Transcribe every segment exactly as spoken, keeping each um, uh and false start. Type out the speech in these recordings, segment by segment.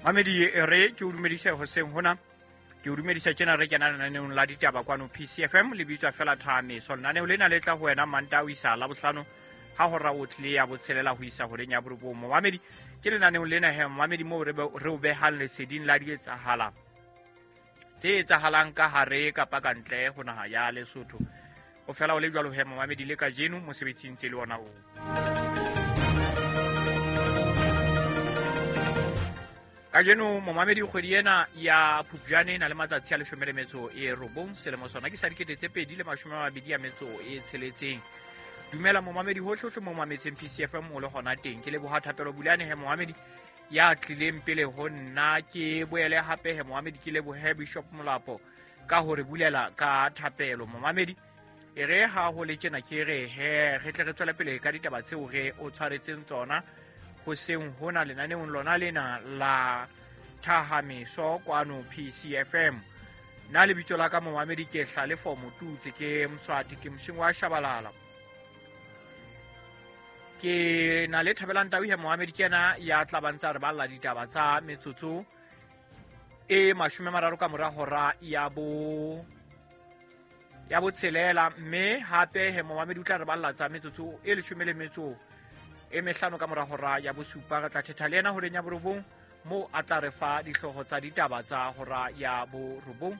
Mamedi e re ke o dumedise hoseng hona, ke o dumedisa tjena re kena lenaneong la ditaba kwano P C F M, le bitswa fela Thahameso. Lenaneo lena le tla ho wena Mantaha ho isa Labohlano ha hora o tlile ya botshelela ho isa horeng ya borobong. Momamedi, ke lenaneong lena he momamedi moo re be-, re o behang leseding la dietsahala tse etsahalang ka hare kapa ka ntle ho naha ya Lesotho. O fela o le jwalo he momamedi le kajeno mosebetsing tse le ona oo. Kajeno momamedi kgwedi ena ya Phupjane e na le matsatsi a leshome le metso e robong, selemo sona ke sa dikete tse pedi le mashome a mabedi a metso e tsheletseng. Dumela momamedi hohle-hohle mo mametseng P C F M o le hona teng. Ke leboha Thapelo Bulane he momamedi ya tlileng pele ho nna. Ke boele hape he momamedi ke lebohe Bishop Molapo ka hore bulela ka thapelo. Momamedi e re ha ho le tjena ke re he re tle re tswele pele ka ditaba tseo re o tshwaretseng tsona hoseng hona lenaneong lona lena la Thahameso kwano P C F M. Nna lebitso la ka momamedi ke Hlalefo Motutse, ke Mswati, ke Moshingo wa Shabalala. Ke na le Thabelang Tau he momamedi ke yena ya tla ba ntsa re balla ditaba tsa metsotso e mashome a mararo ka mora hora ya bo ya botshelela, mme hape he momamedi o tla re balla tsa metsotso e leshome le metso e mehlano ka mora hora ya bosupa. Re tla thetha le yena horeng ya borobong moo a tla re fa dihlooho tsa ditaba tsa hora ya borobong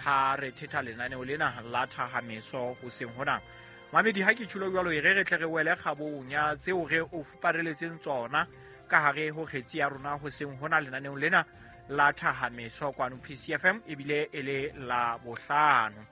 ha re thetha lenaneo lena la Thahameso hoseng hona. Mamedi, ha ke tjhulo jwalo e re re tle re wele kgabong ya tseo re o fupareletseng tsona ka hare ho kgetsi ya rona hoseng hona lenaneong lena la Thahameso kwano P C F M, ebile e le la bohlano.